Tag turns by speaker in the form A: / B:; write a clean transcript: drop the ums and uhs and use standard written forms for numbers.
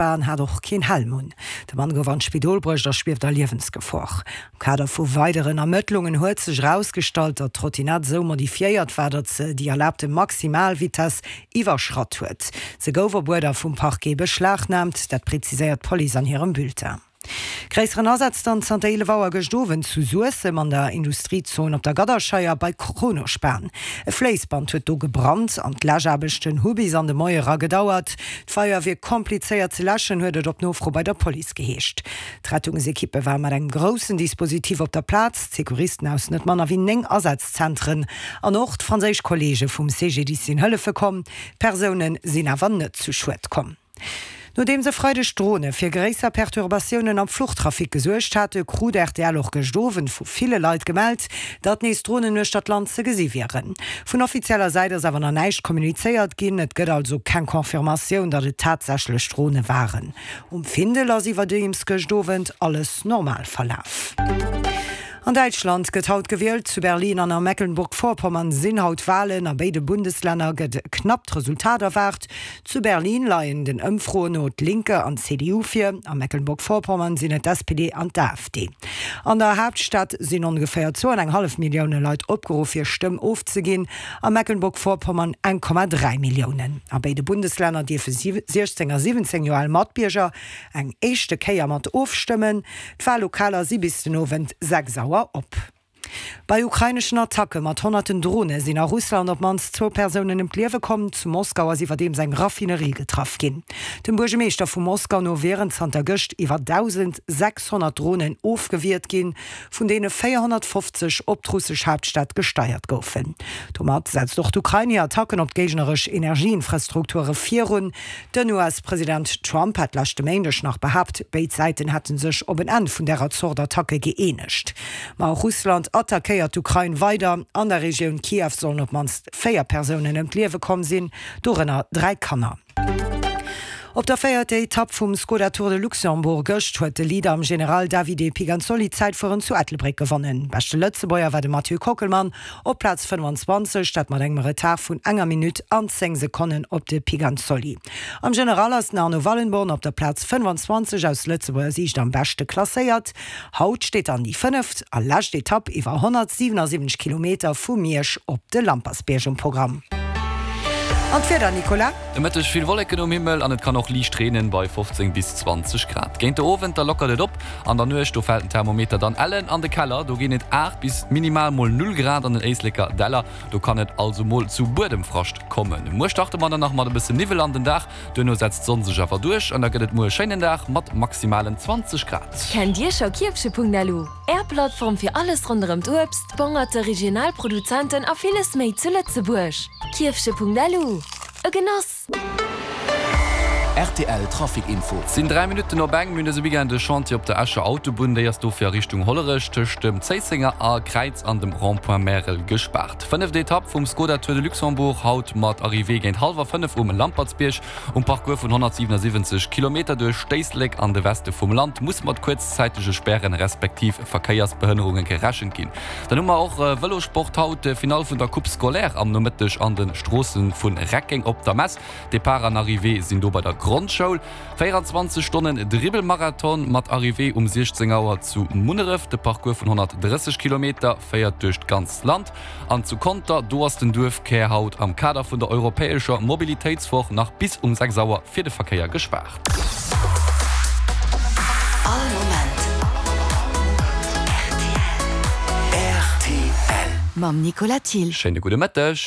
A: War an hat och keen Helm un. De Mann gouf an d'Spidol bruecht a schwieft a Liewensgefor. Am Kader vu weideren Ermëttlungen huet sech erausgestallt, datt d'Trottinett esou modifiéiert war, datt se déi erlaabte Maximalvitess iwwerschratt huet. Se gouf op Uerder vum Parquet beschlagnaamt, dat preziséiert d'Police an hirem Bulletin. Gréisseren Asaz dann zanter 11 Auer gëscht Owend zu Suessem an der Industriezon op der Gadderscheier bei Kronospan. E Fléissband huet do gebrannt an d'Läschaarbechten hu bis an de Moie era gedauert. D'Feier wier komplizéiert ze läschen, huet et op Nofro bei der Police geheescht. D'Rettungsekippe ware mat engem groussen Dispositif op der Plaz, d'Secouristen aus net manner wéi 9 Asazentren an och d'franséisch Kolleege vum CGDIS sinn hëllefe komm. Persoune sinn awer net zu Schued komm. Nodeems e Freideg Drone fir gréisser Perturbatiounen am Fluchtrafic gesuergt hate, krut rtl och gëscht Owend vu ville Leit gemellt, datt nees Dronen uechter d'Land ze gesi wieren. Vun offizieller Säit ass awer nach näischt kommunizéiert ginn, et gëtt also keng Confirmatioun, datt et tatsächlech Drone waren. Um Findel ass iwwerdeems gëscht Owend alles normal verlaf. An Däitschland gëtt haut gewielt. Zu Berlin an a Mecklenburg-Vorpommern sinn haut Walen. A béide Bundeslänner gëtt e knappt Resultat erwaart. Zu Berlin leien den Ëmfroen no d'Linke an d'CDU vir, a Mecklenburg-Vorpommern sinn et d'SPD an d'AfD. An der Haaptstad sinn ongeféier zwou an eng hallef Millioune Leit opgeruff hir Stëmm ofzeginn, a Mecklenburg-Vorpommern 1,3 Milliounen. A béide Bundeslänner dierfe 16 a 17 Joer al Matbierger eng éischte Kéier mat ofstëmmen. D'Wallokaler si bis den Owend 6 Auer op. Bei ukraineschen Attacke mat honnerten Drone sinn a Russland op d'mannst zwou Persounen ëm d'Liewe komm. Zu Moskau ass iwwerdeems eng Raffinerie getraff ginn. Dem Buergemeeschter vu Moskau no wieren zanter gëscht iwwer 1.600 Dronen ofgewiert ginn, vun deene 450 op d'russesch Haaptstad gesteiert goufen. Domat setzt och d'Ukrain hir Attacken op d'géigneresch Energieinfrastrukture virun. Den US-President Trump hat leschte Méindeg nach behaapt, béid Säiten hätte sech op en Enn vun därer Zort Attacke gëeenegt. Ma och Russland attackéiert d'Ukrain weider. An der Regioun Kiew sollen op d'mannst 4 Persounen ëm d'Liewe komm sinn, dorënner 3 Kanner. Op der véierter Etapp vum Skoda Tour de Luxembourg gëscht huet de Leader am General Davide Piganzoli d'Zäitfueren zu Ettelbréck gewonnen. Beschte Lëtzebuerger war de Mathieu Kockelmann op Plaz 25, dat mat engem Retard vun enger Minutt an 10 Sekonnen op de Piganzoli. Am General ass den Arno Wallenborn op der Plaz 25 aus Lëtzebuerger Siicht am beschte klasséiert. Haut steet dann déi fënneft a lescht Etapp iwwer 177 Kilometer vu Miersch op de Lampersbierg um Programm. An d'Wieder, Nicolas?
B: De Mëtteg vill Wolleken um Himmel an et kann och liicht reenen bei 15 bis 20 Grad. Géint de Owend da lockert et op, an der Nuecht do fält den Thermometer dann ellen an de Keller, do ginn et 8 bis minimal mol 0 Grad an den Éisleker Däller, do kann et also mol zu Buedemfrascht kommen. Muer starte mer dann nach mat e bësse Niwwel an den Dag, Duerno setzt d'Sonn sech awer duerch an da gëtt et muer e schéinen Dag mat maximalen 20 Grad.
C: Kennt Dir scho Kierfche.lu? Är Plattform fir alles ronderëm d'Uebst, d'Bongerte, regional Produzenten a villes méi zu Lëtzebuerg. Kierfche.lu, e Genoss!
B: Rtl Trafic Info. Et sinn 3 Minutten op eng. Mir hunn dëse Weekend e Chantier op der Escher Autobunn. Déi ass dofir a Richtung Hollerech tëscht dem Zéissenger a Kräiz an dem Rond-point Märel gespaart. D'fënneft Etapp vum Skoda Tour de Luxembourg, haut mat Arrivée géint hallwer 5 um Lampertsbierg. Um Parcours vun 177 Kilometer duerch d'Éislek an de Weste vum Land muss mat kuerzzäitege Spären respektiv Verkéiersbehënnerunge gerechent ginn. Dann hu mer och Vëlossport haut, Finall vun der Coupe scolaire am Nomëtteg an de Stroosse vu Reckeng op der Mess. Depart an Arrivée sinn do bei der Grondschoul. 24 Stonnen Dribbelmarathon mat Arrivée um 16 Auer zu Munneref. De Parcours vun 130 Kilometer féiert duerch d'ganzt Land. An zu Conter, do ass den Duerfkär haut am Kader vun der europäescher Mobilitéitswoch nach bis um 6 Auer fir de Verkéier gespaart.
A: All Moment rtl. Mam Nicolas Thill.
B: Schéine gudde Mëtteg.